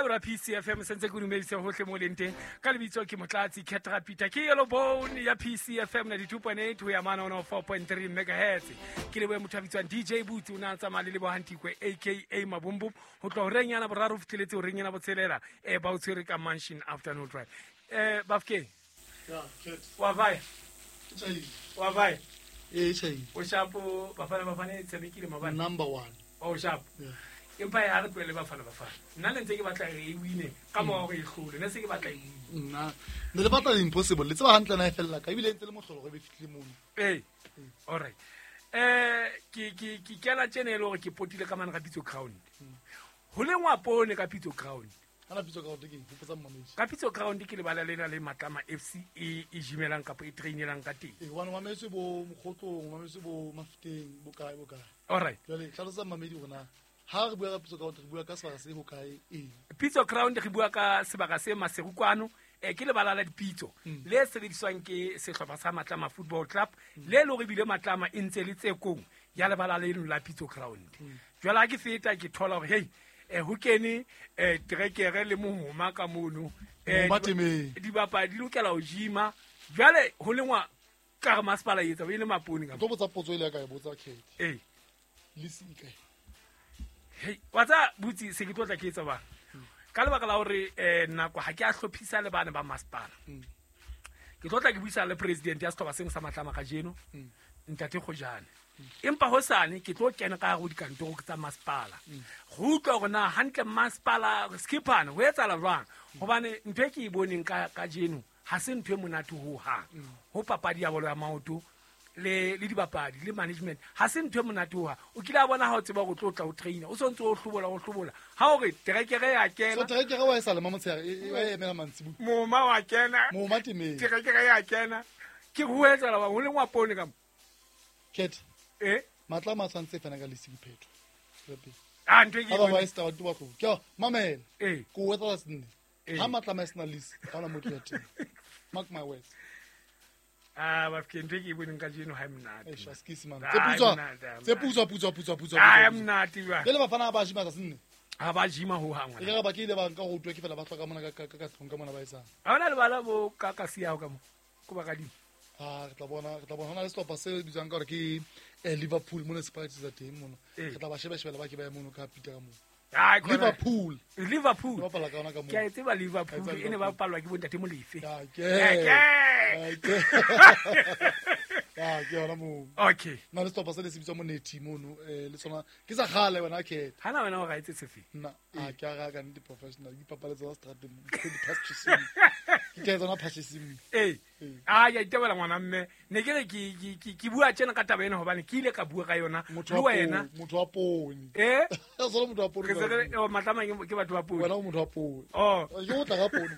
Mabelo a PCFM sentse ke dumedise hohle mo leng teng. Ka lebitso ke Motlatsi Ketra Peter, ke Yellow Bone ya PCFM 92.8 ho ya mane 104.3 megahertz. Ke lebohe motho a bitswang DJ Boots, o ne a tsamaya le Lebohantikwe aka Mabumbu ho tloha horeng yana boraro ho fihleletse horeng yana botshelela, ba o tshwere ka Mansion Afternoon Drive. Bafkeng. Ya, Cat. Wa vae? Ke tjhaile. Wa vae? Ee, tjhaile. O shapo Bafana Bafana e tshamekile maobane? Number 1. O shapo. Yeah. Empa ya re tlohele Bafana Bafana. Nna ne ntse ke batla re e wine ka mora hore e hlole. Ne se ke batla e wine. Nna ne le batla impossible. Le tseba hantle na e fella ka ebile e ntse le mohlolo gore e be fihlile mono. Ee. All right. Ke kena tjena e le hore ke potile ka mane ka Pitso Ground. Ho lengwa poone ka Pitso Ground. Ana Pitso Ground ke eng? Hopotsa mmamedi. Ka Pitso Ground ke lebala lena le Matlama FC e jimelang kapa e trainelang ka teng. Ee, hobane o mametse bo Mokgotlong, o mametse bo Mafeteng, bo kae, bo kae. All right. Jwale hlalosa mmamedi hore na ha re bua ka Pitso Ground re bua ka sebaka se hokae eng? Pitso Ground re bua ka sebaka se Maseru kwano, ke lebala la dipitso le sebediswang ke sehlopha sa Matlama Football Club, le le hore ebile Matlama e ntse le tsekong ya lebala leno la Pitso Ground. Jwale ha ke feta ke thola hore hey, ho kene trekere le mohoma ka mono. Mohoma temeng. Dibapadi di lokela ho jima. Jwale ho lengwa ka re masepala e etsa, e le mapone ka Ke tlo botsa potso e le ya ka e botsa Kate. Ee. Lisi e kae? Hei, wa tseba, Butsi, se ke tlo tla ke etsa bang. Ka lebaka la hore nako ha ke a hlophisa le bana ba masepala. Ke tlo tla ke buisana le president ya sehlopha seno sa Matlama kajeno, Ntate Kgojane. Empa hosane ke tlo kena ka hare ho dikantoro tsa masepala. Go utlwa hore na hantle masepala Skippane ho etsahala jwang. Hobane ntho e ke e boneng kajeno ha se ntho e monate ho hang. Ho papadi ya bolo ya maoto le dibapadi le management ha se ntho e monate ho hang. O kile a bona ha o tseba hore o tlo tla o trainer, o sontse o hlobola, o hlobola. Ha o re terekere ya kena. So terekere wa e sa lema motshehare, e emela mantsibuya. Moma wa kena. Moma temeng. Terekere ya kena. Ke ho etsahala bang, ho lengwa poone ka mo. Cat. Eh? Matlama a tshwantse fana ka lesi diphetho. Tswela Ah, ntho e ke Ha ba e ba e se taba, ba tlo. Ke a, mamela. Eh. Ke o etsa senne. Eh. Ha Matlama e sena lesi, ha hona motho ya teng. Mark my words. Ah, ba fike ntho e ke e boneng kajeno ha e monate. Eish, askies, man. Ah, Tse putswa, e monate, ha e tse monate. putswa, putswa, putswa, putswa, Ah, e putswa, putswa. monate jwang. Jwale bafana ha ba jima tsatsing le? Ha ba jima ho hang, E ka re ba ke ile ba nka go utlwa ke fela ba hloka mona ka tlung ka mona ba etsang. Ha hona lebala bo ka ka siya ka mo. Ko ba kadimo. Ah, re tla bona, re tla bona. Hona le sehlopha se bitswang ka hore ke Liverpool mona se practice teng mona. Ee. Re tla ba sheba-shebela ba ke ba ye mono ka Peter ka moo. Ah, ke hona. Liverpool. Liverpool. Ba bapala ka yona ka moo. Ke a e tseba Liverpool, Ke a e tseba e ne ba Liverpool. bapalwa ke bontate Molefe. Ya, ke. Ya, ke. Ya, ke. Ya, ke yona moo. Okay. Na le sehlopha se le se bitswang Monethi mono, le sona ke sa kgale wena Kate. Hana wena o ra etse sefe? Nna, a ke a ra ka nnete professional, ke ipapaletse tsa seterateng, ke di purchasing. Ke tla tsona purchasing. Ee. Ee. Ah, ke a itebela ngwana mme. Ne ke re ke bua tjena ka taba ena hobane ke ile ka bua ka yona Motho le wa wena. poone, motho wa poone. Eh? O sona motho wa poone Re se re, jwale. oh, Matlama ke batho ba poone. Wena o motho wa poone. Oh. Ke o tla ka poone.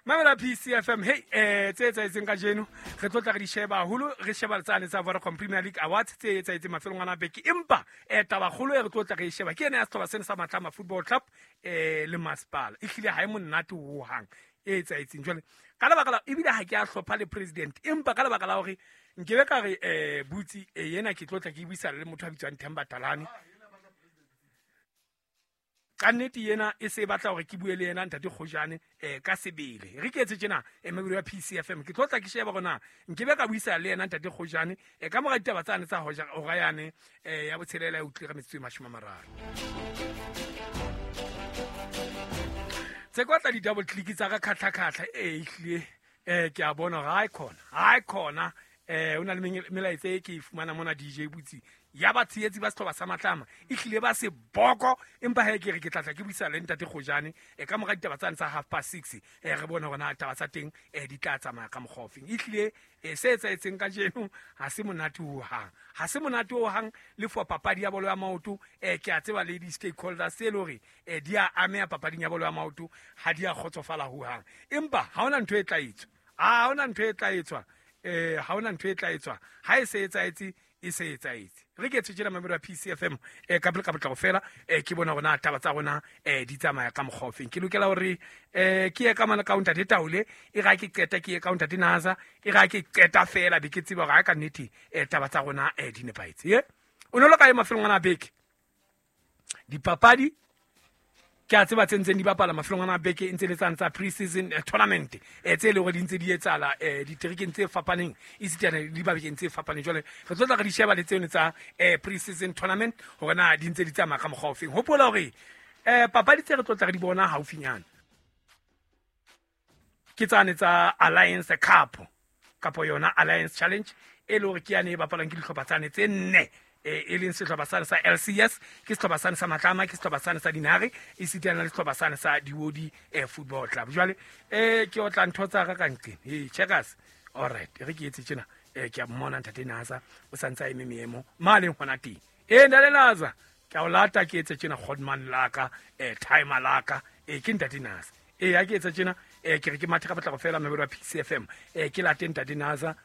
Mamela PCFM, hey, tse etsahetseng kajeno, re tlo tla re di sheba haholo, re sheba tsane tsa Vodacom Premier League Awards tse etsahetseng mafelong ana a beke. Empa, taba kgolo e re tlo tla re e sheba ke ena ya sehlopha sena sa Matlama Football Club, le masepala. Ehlile ha e monate ho hang e etsahetseng. Jwale, ka lebaka la, ebile ha ke a hlopha le president, empa ka lebaka la hore nkebe ka re, Butsi, ena ke tlo tla ke buisana le motho a bitswang Themba Talane. Ka nnete ena e se e batla hore ke bue le yena Ntate Kgojane, ka sebele. Re ke etse tjena, mabelo ya PCFM. Ke tlo tla ke sheba hore na nkebe ka buisana le yena Ntate Kgojane, ka mora ditaba tsane tsa hoja hora yane, ya botshelela e utlwile ka metsotso e mashome a mararo. Tse kwa tla di-double click tsa ka khatlha-khatlha, ehlile, ke a bona hore ha e khona, ha e khona, ho na le melaetsa e ke e fumana mona DJ Butsi ya batshehetsi ba sehlopha sa Matlama, ehlile ba se boko, empa he ke re ke tla tla ke buisana le Ntate Kgojane, ka mora ditaba tsane tsa half past six, re bone hore na taba tsa teng, di tla tsamaya ka mokgwa ofeng. Ehlile, se etsahetseng kajeno ha se monate ho hang, ha se monate ho hang le for papadi ya bolo ya maoto, ke a tseba le di-stakeholders tse le hore, di a ameha papading ya bolo ya maoto, ha di a kgotsofala ho hang. Empa ha hona ntho e tla etswa, ha hona ntho e tla etswa, ha hona ntho e tla etswa, ha e se etsahetse, e se etsahetse. Re ke tshwetjela mamelo ya PCFM, ka pele ka potlako fela, ke bona hore na taba tsa rona, di tsamaya ka mokgwa ofeng. Ke lokela hore, ke ye ka mane ka ho Ntate Taole, e re ha ke qeta ke ye ka ho Ntate Naza, e re ha ke qeta fela be ke tseba hore ha ka nnete, taba tsa rona, di nepahetse. Ye? O ne o le kae mafelong ana a beke? Dipapadi Ke a tseba tse ntseng di bapala mafelong ana a beke e ntse le tsane tsa pre-season tournament tse e leng hore di ntse di etsahala diterekeng tse fapaneng esitana le dibakeng tse fapaneng. Jwale re tlo tla re di sheba le tseno tsa pre-season tournament hore na di ntse di tsamaya ka mokgwa ofeng. Hopola hore papadi tse re tlo tla re di bona haufinyana ke tsane tsa Alliance Cup kapo yona Alliance Challenge, e le hore ke yane e bapalwang ke dihlopha tsane tse nne, e leng sehlopha sane sa LCS, ke sehlopha sane sa Matlama, ke sehlopha sane sa Dinare, esitana le sehlopha sane sa Diodi Football Club. Jwale ke otla ntho tsa ka ka nqeng. Hey, checkers. All right, re ke etse tjena. Ke a mmona ntate Naza o santse a eme meemo ma leng hona teng. Ntate Naza, ke a o lata ke etse tjena Godman laka, timer laka, ke ntate Naza. Ha ke etsa tjena, ke re ke mathe ka potlako fela mabelo a PCFM. Ke late ntate Naza.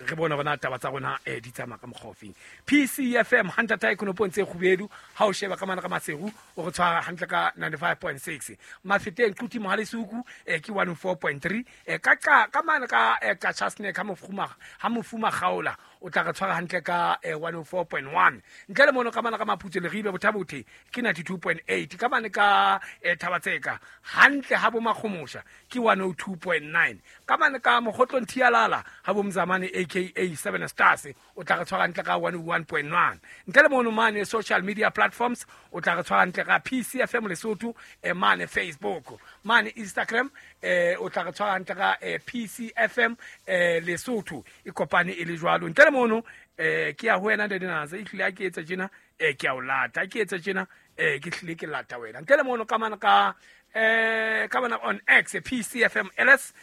Re bone hore na taba tsa rona di tsamaya ka mokgwa ofeng. PCFM hantle ta ekonopong tse kgubedu, ha o sheba ka mana ka Maseru o re tshwara hantle ka 95.6. Mafeteng Quti Mohalesuku ke 104.3. Ka ka mana ka ka Chasne ka mofuma ha mofuma kgaola o tla re tshwara hantle ka 104.1. Ntle le mono ka mana ka Maphutso Leribe Bothabothe ke 92.8. Ka mane ka Thabatseka hantle ha bo Makgomosha ke 102.9. Ka mane ka Mokgotlong Thialala ha bo Mzamane aka 7 Stars o tla re tshwara hantle ka 101.1. Ntle le mono mane social media platforms o tla re tshwara hantle ka PCFM Lesotho, mane Facebook, mane Instagram, o tla re tshwara hantle ka PCFM Lesotho e kopane e le jwalo. Ntle le mono ke ya ho wena ntate Naza, e hlile ha ke etsa tjena, ke a o lata, ha ke etsa tjena, ke hlile ke lata wena. Ntle le mono ka mana ka ka mana on X PCFM LS,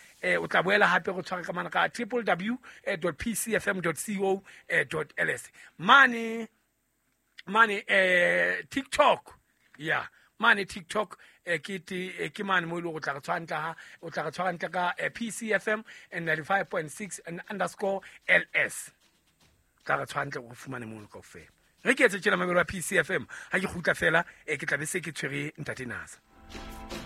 o tla boela hape go tshwara ka mana ka triple w dot p c f m dot c o dot l s. Mane mane TikTok, ya mane TikTok, ke te ke mane mo ile go tla re tshwara ntle ha o tla re tshwara ntle ka PCFM and 95.6 and underscore LS. Tla re tshwara ntle go fumane mono kaofela. Re ke etse tjena mabelo a PCFM ha ke kgutla fela, ke tla be se ke tshwere ntate Naza.